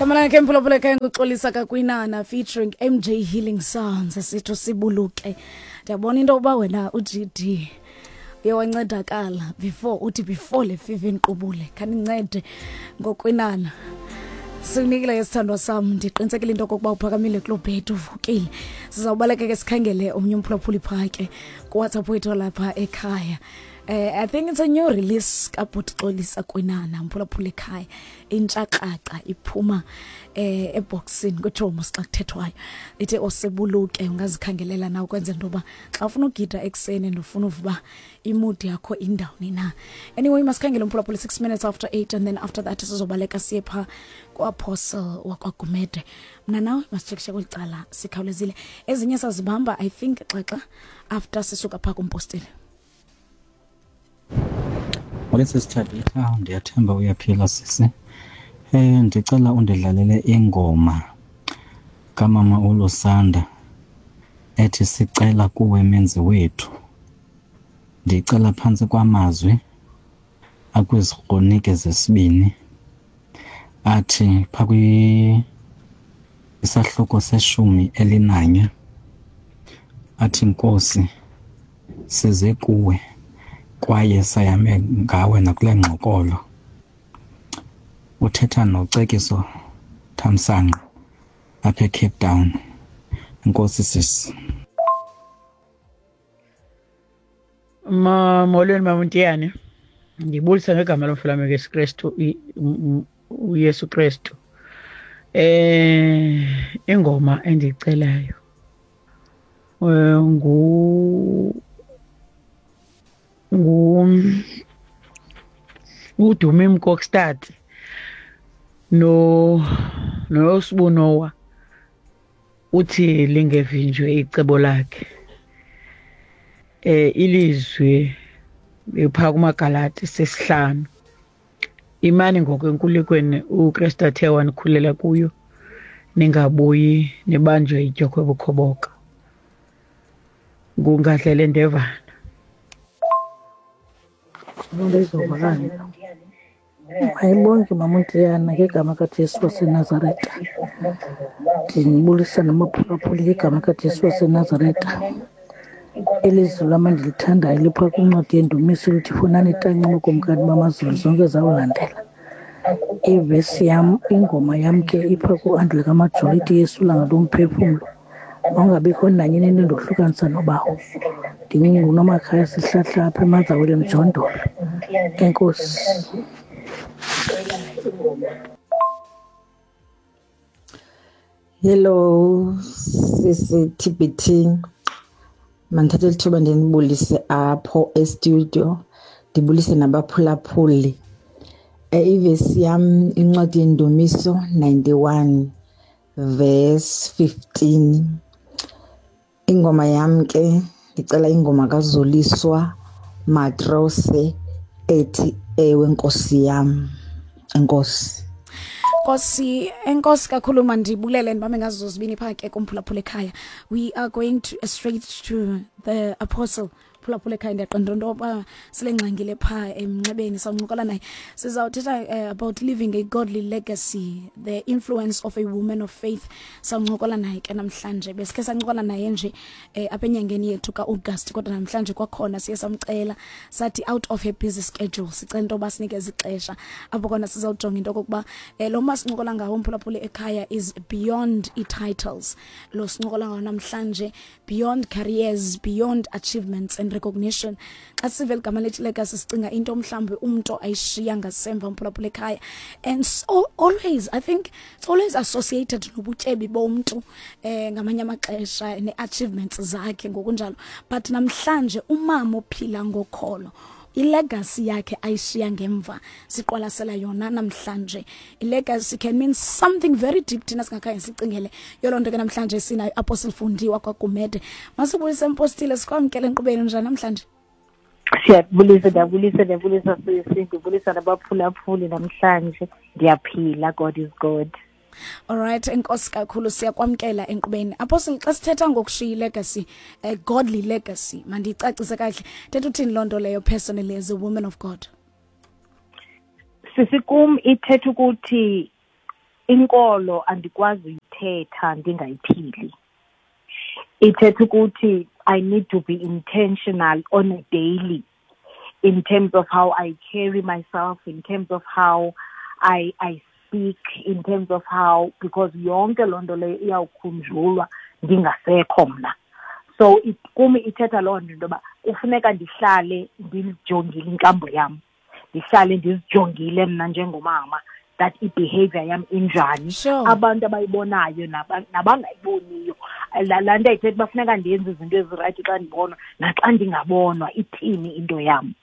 Gama lakhe mphulaphula ekhaya nguXolisa Kakwinana featuring MJ Healing Sounds sitho sibuluke. Ndiyabona into yokuba wena uGD uye wancedakala before uthi before le fiva inqubule khanincede ngokwinana. Sikunikile ke sithandwa sam ndiqinisekile into yokokuba uphakamile kuloo bhedi uvukile. Sizawubaleka ke sikhangele omnye umphulaphuli phaa ke kuWhatsApp wethu lapha ekhaya. I think it's a new release kaBhuti Xolisa Kwinana mphulaphula ekhaya intshakraca iphuma eboxini kuthiwa mos xa kuthethwayo ithi osebuluke ungazikhangelela na ukwenzela into yoba xa ufuna ugida ekuseni and ufuna uva uba imood yakho indawuni na. Anyway, masikhangele umphulaphula 6 minutes after 8 and then after that sizobaleka siye phaa kuApostle wakwaGumede. Mna nawe masitshekishe kweli cala sikhawulezile, ezinye sazibamba I think xaxa after sisuka phaa kumpostile. Molweni sisi Thabitha, ndiyathemba uyaphila sisi. Ndicela undidlalele ingoma kamama uLusanda ethi sicela kuwe menzi wethu. Ndicela phantsi kwamazwi akwiziKronike zesibini athi phaa isahluko seshumi elinanye athi Nkosi size kuwe kwaye sayame ngawe nakule ngxokolo. Uthetha noCekiso Thamsanqa apha eCape Town. Enkosi sisi. Molweni mama Ntiyane, ndibulisa ngegama lomfulame Yesu Kristu, uYesu Kristu. Ingoma endiyicelayo ngu ngu uDumi Mkokstad no noSibu Noah uthi lingevinjwe icebo lakhe. Ilizwi lipha kumaGalati sesihlanu. Imani ngokwenkululekweni uKristu athe wanikhulela kuyo, ningabuyi nibanjwe idyokhwe bukhoboka. Ngungadlele ndevana. Mayibonke mama uNtiyana ngegama kaJesu waseNazaretha. Ndinibulisa namaphulaphuli ngegama kaJesu waseNazaretha. Ilizwi lam endilithandayo lipha kwincwadi yeNdumiso lithi funani itanci bokumkani bamazulu zonke zawulandela. Ivesi yam, ingoma yam ke ipha kuAndile kaMajola ithi Yesu langa lomphefumlo. Mawungabikho nanye into endohlukanisa nobawo. NdinguNomakhaya Sihlahla apha eMazawele eMjondolo. Enkosi. Hello sisi TBT, mandithathe lithuba ndinibulise apho e-studio, ndibulise nabaphulaphuli. Ivesi yam incwadi yeNdumiso 91 verse 15. Ingoma yam ke ndicela ingoma kaZoliswa Matrose ethi Ewe Nkosi yam. Enkosi. Nkosi, enkosi kakhulu, mandibulele ndibambe ngazo zozibini phaa ke kumphulaphula ekhaya. We are going to straight to the apostle. Phulaphula ekhaya, ndiyaqonda into yoba sele ngxangile phaa emnxebeni, sawuncokola naye. Sizawuthetha about leaving a godly legacy, the influence of a woman of faith. Sawuncokola naye ke namhlanje. Besikhe sancokola naye nje apha enyangeni yethu ka-August, kodwa namhlanje kwakhona siye samcela sathi out of her busy schedule sicela into yoba sinikeze ixesha apho khona sizawujonga into okokuba lo masincokola ngawo umphulaphuli ekhaya is beyond i-titles. Lo sincokola ngawo namhlanje beyond careers, beyond achievements and recognition. Xa sive ligama lethi legacy sicinga into mhlawumbi umntu ayishiya ngasemva umphulaphula ekhaya, and so always I think it's always associated nobutyebi bomntu ngamanye amaxesha ne-achievements zakhe ngokunjalo. But namhlanje umama ophila ngokholo, ilegacy yakhe ayishiya ngemva siqwalasela yona namhlanje. Ilegacy can mean something very deep, thina singakhange sicingele. Yoloo nto ke namhlanje sinayo Apostle Fundiwa kwaGumede. Masibulise mpostile, sikwamkele enkqubeni. Njani namhlanje? Siyabulisa, ndiyabulisa, ndiyabulisa sisi, ndibulisa nabaphulaphuli namhlanje. Ndiyaphila, God is good. Alright, enkosi kakhulu, siyakwamkela enkqubeni. Apostle, xa sithetha ngokushiya ilegacy, a godly legacy, mandiyicacise kakuhle. Thetha uthini loo nto leyo personally as a woman of God? Sisi, kum ithetha ukuthi Inkolo andikwazi uyithetha ndingayiphili. Ithetha ukuthi I need to be intentional on a daily in terms of how I carry myself, in terms of how I speak, in terms of how, because yonke loo nto leyo iyawukhunjulwa ndingasekho mna. So kum ithetha loo nto, into yoba kufuneka ndihlale ndijongile inkambo yam, ndihlale ndizijongile mna njengomama, that i-behavior yam injani. Abantu abayibonayo nabangayiboniyo, laa nto ayithetha uba funeka ndenze izinto ezirayithi xa ndibonwa naxa ndingabonwa, ithini into yam.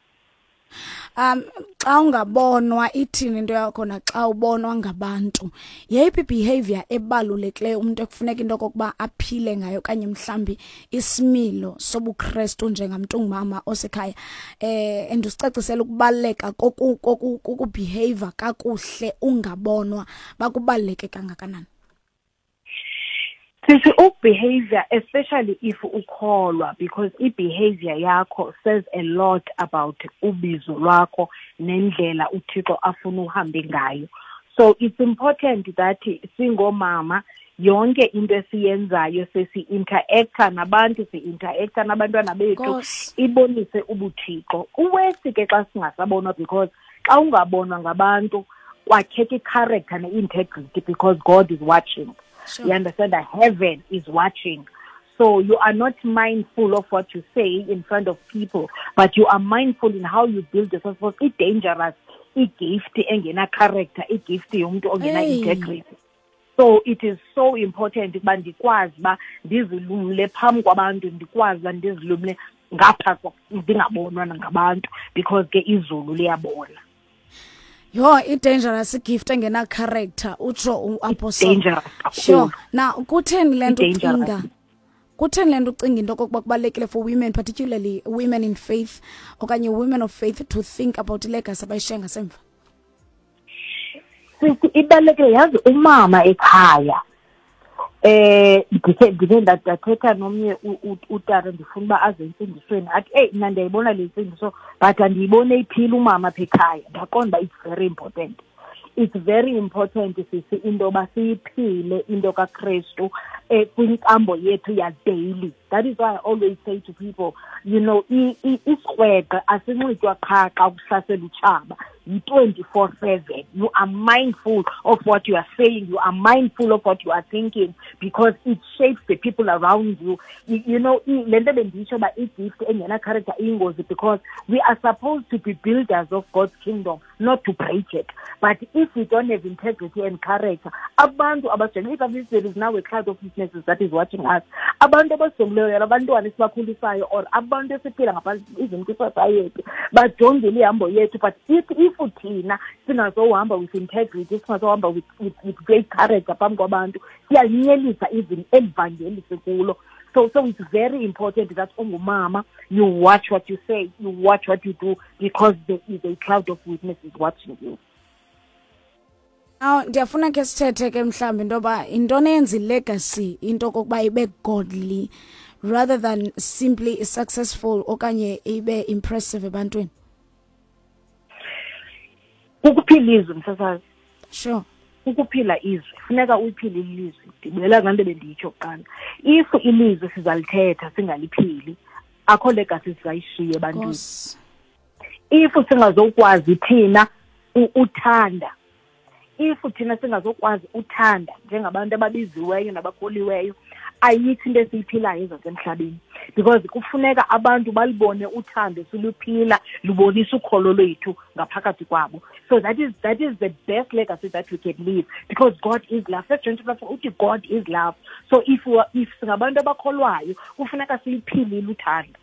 Xa ungabonwa ithini into yakho, naxa ubonwa ngabantu, yeyiphi behavior ebalulekileyo umuntu ekufuneka into okokuba aphile ngayo, okanye mhlambi isimilo sobuKristu njengamntu ungumama osekhaya, endusicacisela ukubaluleka kokubehave kakuhle ungabonwa, bakubaluleke kangakanani? Sisi, ukubehavior, especially if ukholwa, because i-behavior yakho says a lot about ubizo lwakho nendlela uThixo afuna uhambe ngayo. So it's important that singomama yonke into esiyenzayo sesi-interacta nabantu, si-interacta nabantwana bethu, ibonise ubuthixo. Uwesi ke xa singasabonwa, because xa ungabonwa ngabantu kwakheka i-character ne-integrity, because God is watching. You understand that heaven is watching. So you are not mindful of what you say in front of people, but you are mindful in how you build yourself. Because it's dangerous, i-gift engena character, i-gift yomuntu ongena integrity. So it is so important ukuba ndikwazi uba ndizilumle phambi kwabantu, ndikwazi uba ndizilumle ngapha ndingabonwa ngabantu, because ke izulu liyabona. Yho, i-dangerous gift engena character, utsho uApostle. Dangerous kakhulu. Now kutheni le nto I-dangerous. ucinga? Kutheni le nto ucinga into okokuba kubalulekile for women, particularly women in faith okanye women of faith, to think about ilegacy abayishiya ngasemva? Sisi, ibalulekile. Yazi, umama ekhaya, ndikhe ndathetha nomnye utata, ndifuna uba aze entsindisweni, athi, eyi, mna ndiyayibona le ntsindiso, but andiyiboni eyiphila umama apha ekhaya. Ndaqonda uba it's very important. It's very important, sisi, into yoba siyiphile into kaKrestu kwinkambo yethu ya daily. That is why I always say to people, isikrweqe asinxitywa qha xa kuhlasela utshaba. Yi-24/7. You are mindful of what you are saying. You are mindful of what you are thinking, because it shapes the people around you. Le nto bendiyitsho uba i-gift engena character iyingozi, because we are supposed to be builders of God's kingdom, not to break it. But if we don't have integrity and character, abantu abasijongile, if there is now a cloud of witnesses that is watching us, abantu abasijongileyo, abantwana esibakhulisayo, or abantu esiphila ngaphansi even kwi-society, bajongile ihambo yethu. But if thina singazohamba with integrity, singazohamba with great character phambi kwabantu, siyalinyelisa even elivangeli sikulo. So it's very important that ungumama, you watch what you say, you watch what you do, because there is a cloud of witnesses watching you. Now, ndiyafuna ke sithethe ke mhlawumbi into yoba yintoni eyenza ilegacy into okokuba ibe godly rather than simply successful okanye ibe impressive ebantwini. Ukuphila izwi, msasazi. Ukuphila izwi, funeka uyiphile ilizwi. Ndibuyela kulaa nto bendiyitsho kuqala. If ilizwi sizalithetha singaliphili, akho legacy sizayishiya ebantwini. If singazokwazi thina uthanda, if thina singazokwazi uthanda njengabantu ababiziweyo nabakholiweyo, ayikho into esiyiphilayo ezasemhlabeni, because kufuneka abantu balibone uthando siluphila, lubonisa ukholo lwethu ngaphakathi kwabo. So that is the best legacy that we can leave, because God is love. First John chapter 4 uthi God is love. So if singabantu abakholwayo, kufuneka siyiphilile uthando.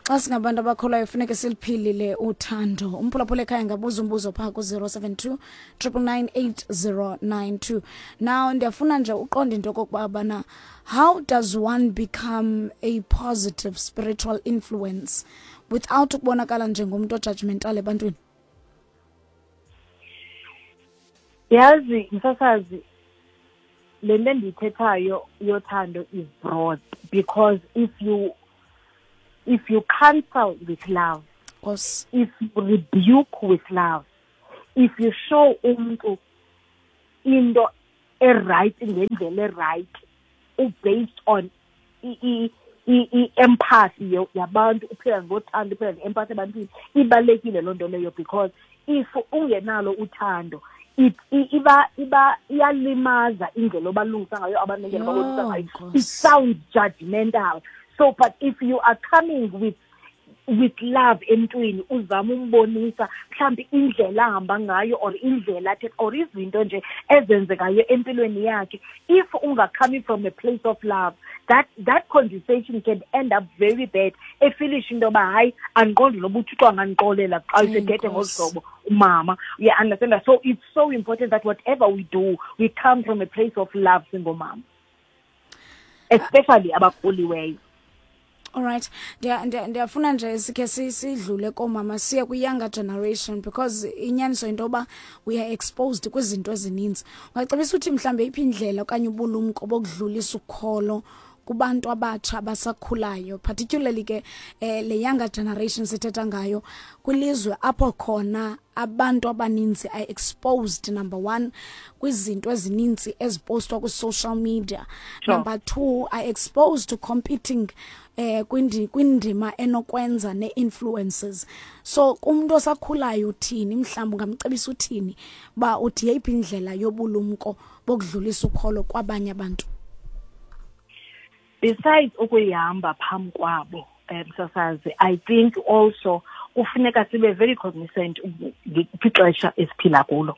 Xa singabantu abakholwayo funeke siliphilile uthando. Umphulaphula ekhaya ngabuza umbuzo phaa ku-072 999 8092. Now ndiyafuna nje uqonde into okokuba bana how does one become a positive spiritual influence without ukubonakala njengomntu ojudgmental ebantwini? Yazi, msasazi, le nto endiyithethayo yothando is broad, because if you counsel with love, if you rebuke with love, if you show umntu into e-right ngendlela e-right, based on i-empathy yabantu, uphila ngothando, uphila nge-empathy ebantwini. Ibalulekile loo nto leyo, because if ungenalo uthando, iba iyalimaza indlela obalungisa ngayo abantu, nendlela obabonisa ngayo. It sounds judgmental. So but if you are coming with love emntwini, uzama umbonisa mhlawumbi indlela ahamba ngayo or indlela athetha or izinto nje ezenzekayo empilweni yakhe, if unga-coming from a place of love, that conversation can end up very bad, e-feelisha into yoba hayi, andiqondi noba uThixo angandixolela xa usethethe ngolu hlobo umama. Uya-understanda? So it's so important that whatever we do, we come from a place of love singomama, especially abakhuliweyo. Alright, ndiyafuna nje sikhe sidlule koomama siye kwi-younger generation, because inyaniso into yoba we are exposed kwizinto ezininzi. Ungacebisa uthi mhlawumbi eyiphi indlela okanye ubulumko bokudlulisa ukholo kubantu abatsha abasakhulayo, particularly ke le younger generation sithetha ngayo, kwilizwe apho khona abantu abaninzi are exposed, number one, kwizinto ezininzi ezipostwa kwi-social media, number two, are exposed to competing kwindima enokwenza ne-influences? So kumuntu osakhulayo uthini mhlawumbi, ungamcebisa uthini uba uthi yeyiphi indlela yobulumko bokudlulisa ukholo kwabanye abantu? Besides ukuyihamba phambi kwabo, msasazi, I think also kufuneka sibe very cognizant kwixesha esiphila kulo.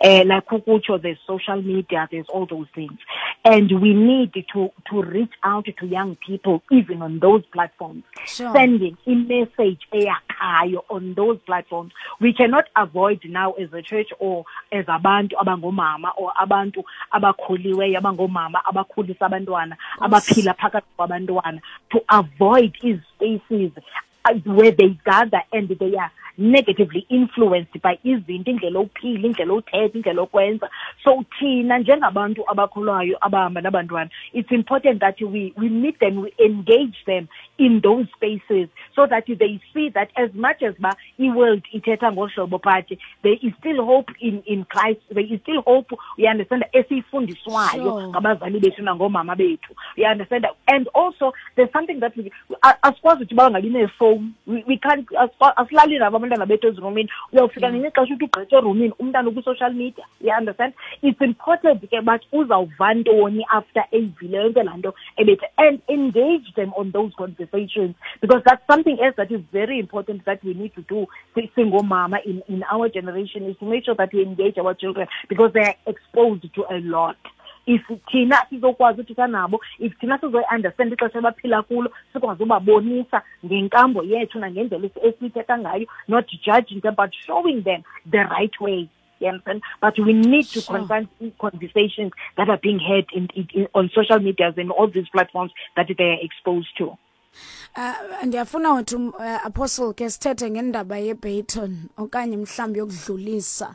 Like ukutsho, there's social media, there's all those things, and we need to reach out to young people even on those platforms, sending a message eyakhayo on those platforms. We cannot avoid now as a church or as abantu abangomama or abantu abakhuliweyo abangomama abakhulisa abantwana, abaphila phakathi kwabantwana, to avoid these spaces where they gather and they are negatively influenced by izinto, indlela ophila, indlela othetha, indlela okwenza. So thina njengabantu abakholwayo abahamba nabantwana, it's important that we meet them, we engage them in those spaces so that they see that as much as ba i-world ithetha ngohlobo, but there is still hope in Christ. There is still hope, you understand, esiyifundiswayo ngabazali bethu nangoomama bethu, you understand? And also there's something that we asikwazi ukuthi bangabi neefowuni. We can't, asilali nabo abantwana bethu ezirumini. Uyawufika ngelinye ixesha uthi ugqitha erumini, umntana ukwi-social media, you understand? It's important ke but uzawuva ntoni after eyivile yonke laa nto ebethe, and engage them on those conversations, because that's something else that is very important that we need to do singomama in our generation, is to make sure that we engage our children, because they are exposed to a lot. If thina sizokwazi uthetha nabo, if thina sizoyi-understand ixesha abaphila kulo, sikwazi ubabonisa ngenkambo yethu nangendlela esithetha ngayo, not judging them but showing them the right way, you understand? But we need to confront conversations that are being had in on social medias and all these platforms that they are exposed to. Ndiyafuna wethu apostle ke sithethe ngendaba ye-baton okanye mhlawumbi yokudlulisa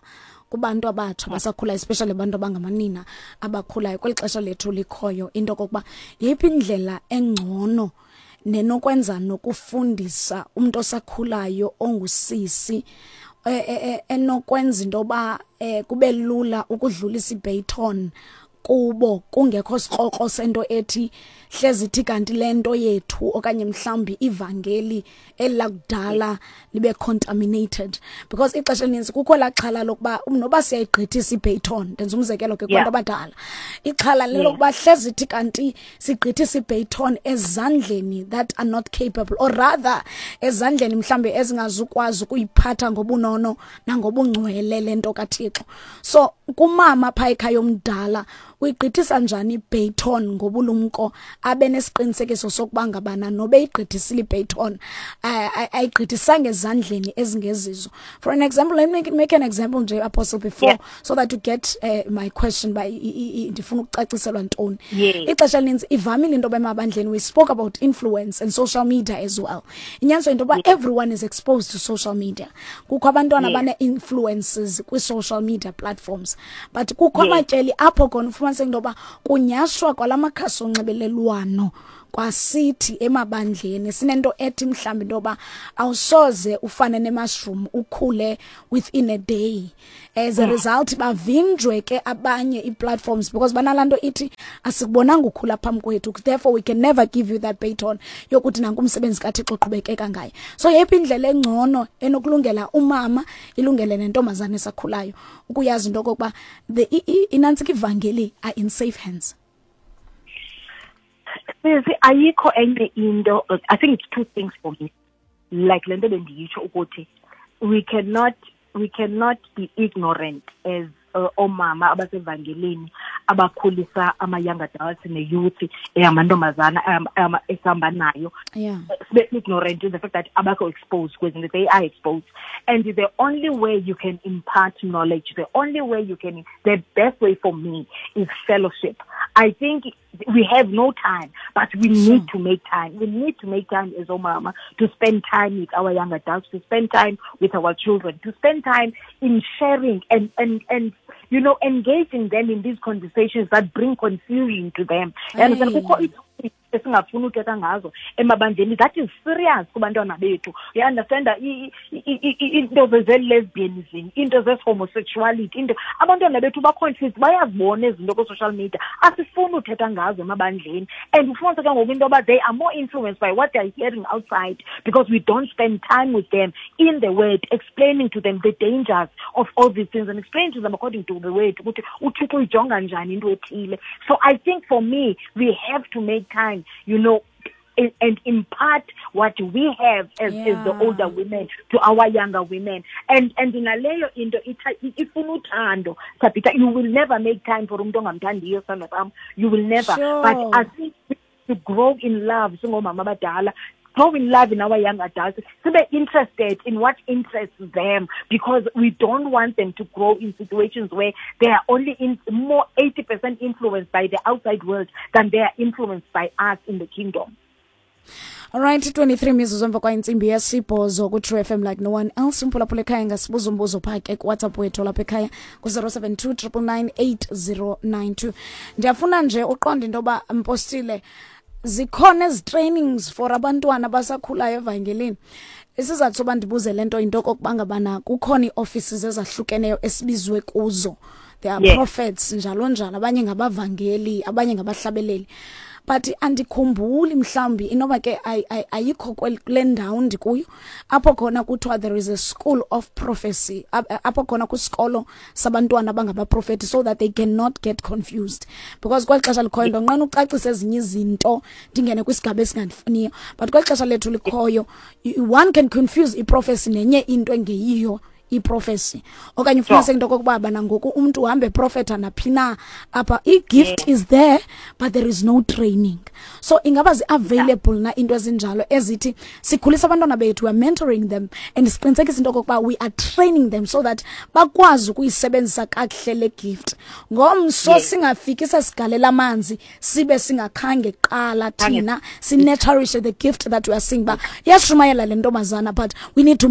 kubantu abatsha abasakhulayo, especially abantu abangamanina abakhulayo kweli xesha lethu likhoyo, into kokuba yeyiphi indlela engcono nenokwenza nokufundisa umuntu osakhulayo ongusisi enokwenza into yoba kube lula ukudlulisa i-baton kubo, kungekho sikrokro sento ethi hlezi ithi kanti lento yethu okanye mhlawumbi ivangeli elakudala libe contaminated? Because ixesha elininzi kukho laa xhala lokuba noba siyayigqithisa i-baton, ndenza umzekelo ke kubantu abadala, ixhala lelokuba hlezi ithi kanti sigqithisa i-baton ezandleni that are not capable, or rather ezandleni mhlawumbi ezingazukwazi ukuyiphatha ngobunono nangobungcwele le nto kaThixo. So kumama phaa ekhaya omdala, uyigqithisa njani i-baton ngobulumko, abe nesiqinisekiso sokuba ngabana nobe igqithisile i-baton, ayigqithisanga ezandleni ezingezizo? For an example, let me make an example nje, apostle, before so that you get my question by ndifuna ukucaciselwa ntoni. Ixesha elininzi ivamile into yoba emabandleni, we spoke about influence and social media as well, inyaniso into yoba everyone is exposed to social media, kukho abantwana abane-influences kwi-social media platforms, but kukho amatyeli apho khona ufumaniseke into yoba kunyashwa kwala makhasi onxibelelwano. Kwasithi emabandleni sinento ethi mhlawumbi into yoba awusoze ufane ne-mushroom ukhule within a day. As a result bavinjwe ke abanye ii-platforms because banalaa nto ithi asikubonanga ukhula phambi kwethu, therefore we can never give you that baton yokuthi nanku umsebenzi kaThixo uqhubekeka ngaye. So yeyiphi indlela engcono enokulungela umama, ilungele nentombazana esakhulayo ukuyazi into okokuba the inantsika ivangeli are in safe hands? Sisi, ayikho enye into. I think it's two things for me. Like le nto bendiyitsho ukuthi we cannot be ignorant as oomama abasevangelini abakhulisa ama-young adults ne-youth eyamantombazana esihamba nayo, sibe ignorant to the fact that abakho exposed kwezinto. They are exposed, and the only way you can impart knowledge, the only way you can the best way for me is fellowship. I think we have no time, but we need to make time. We need to make time as omama to spend time with our young adults, to spend time with our children, to spend time in sharing and engaging them in these conversations that bring confusion to them. And Aye. kukho esingafuni uthetha ngazo emabandleni that is serious kubantwana bethu, you understand? Into ze-lesbianism, into zes-homosexuality, into abantwana bethu ba-confused, bayazibona ezi zinto kwi-social media, asifuni uthetha ngazo emabandleni. And ufumanise ke ngoku into yoba they are more influenced by what they are hearing outside because we don't spend time with them in the word, explaining to them the dangers of all these things and explaining to them according to the word ukuthi uThixo uyijonga njani into ethile. So I think for me we have to make time and impart what we have as the older women to our younger women. And naleyo into ifuna uthando, Sabita. You will never make time for umuntu ongamthandiyo, sithando sam. You will never. But I think to grow in love singomama abadala, grow in love in our young adults, sibe interested in what interests them, because we don't want them to grow in situations where they are only in more 80% influenced by the outside world than they are influenced by us in the kingdom. Alright, 23 mizuzu emva kwentsimbi yesibhozo ku-True FM like no one else. Umphulaphula ekhaya ngasibuza umbuzo phaa ke kuWhatsApp wethu lapha ekhaya ku-072 999 8092. Ndiyafuna nje uqonde into yoba, mpostile, zikhona ezi trainings for abantwana abasakhulayo evangelini. Isizathu soba ndibuze le nto yinto okokuba ngabana kukhona ii-offices ezahlukeneyo esibizwe kuzo. There are prophets, njalo njalo, abanye ngabavangeli, abanye ngabahlabeleli, but andikhumbuli, mhlawumbi inoba ke ayikho kule ndawo ndikuyo apho khona kuthiwa there is a school of prophecy, apho khona kwisikolo sabantwana abangabaprofeti, so that they cannot get confused, because kweli xesha likhoyo ndonqena ucacisa ezinye izinto ndingene kwisigaba esingandifuniyo, but kweli xesha lethu likhoyo one can confuse i-prophecy nenye into engeyiyo i-prophecy, okanye ufumaniseke into okokuba bana ngoku umntu uhambe eprofetha naphi na apha. I-gift is there, but there is no training. So ingaba zi-available na into ezinjalo ezithi sikhulisa abantwana bethu, we are mentoring them and siqinisekisa into okokuba we are training them so that bakwazi ukuyisebenzisa kakuhle le gift ngomso, singafiki sesigalela amanzi sibe singakhange kuqala thina si-nurturishe the gift that we are seeing, ba iyashumayela le ntombazana, but we need to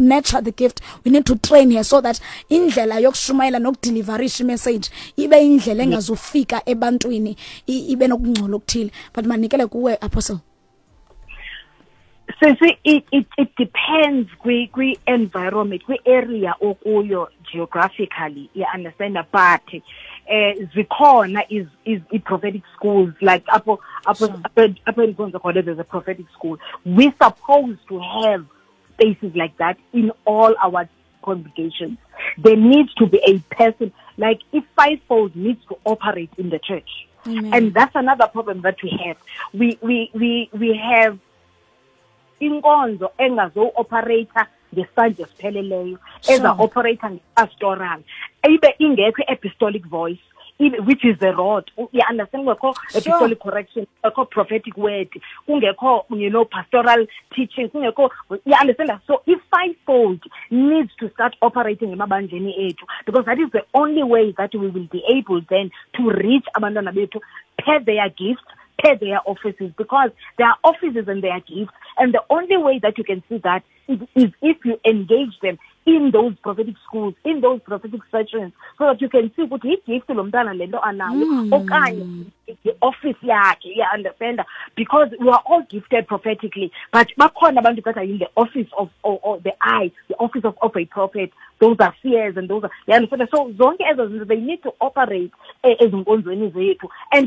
nurture the gift, we need to train her so that indlela yokushumayela nokudeliverisha i-message ibe indlela engazufika ebantwini ibe nokungcola okuthile? But manikele kuwe, apostle. Sisi, it depends kwi environment, kwi area okuyo geographically, you understand? But zikhona is i prophetic schools, like apho endikhonza khona there's a prophetic school. We supposed to have spaces like that in all our congregations. There needs to be a person, like if fivefold needs to operate in the church. Amen. And that's another problem that we have. We have inkonzo engazo-operate-a ngesandla esipheleleyo, eza-operate-a nge-pastoral, ibe ingekho i-apostolic voice, which is the rod, you understand? Kungekho apostolic correction, kungekho prophetic word, kungekho pastoral teaching, kungekho, you understand? So i-fivefold needs to start operating emabandleni ethu, because that is the only way that we will be able then to reach abantwana bethu per their gifts, per their offices, because there are offices and their gifts, and the only way that you can see that is if you engage them in those prophetic schools, in those prophetic sessions, so that you can see ukuthi i-gift lo mntana le nto anayo okanye Yi-office yakhe, uya-understanda? Because we are all gifted prophetically, but bakhona abantu that are in the office of or the eye, the office of a prophet. Those are seers and those are, you understand? So zonke ezo zinto, they need to operate ezinkonzweni zethu and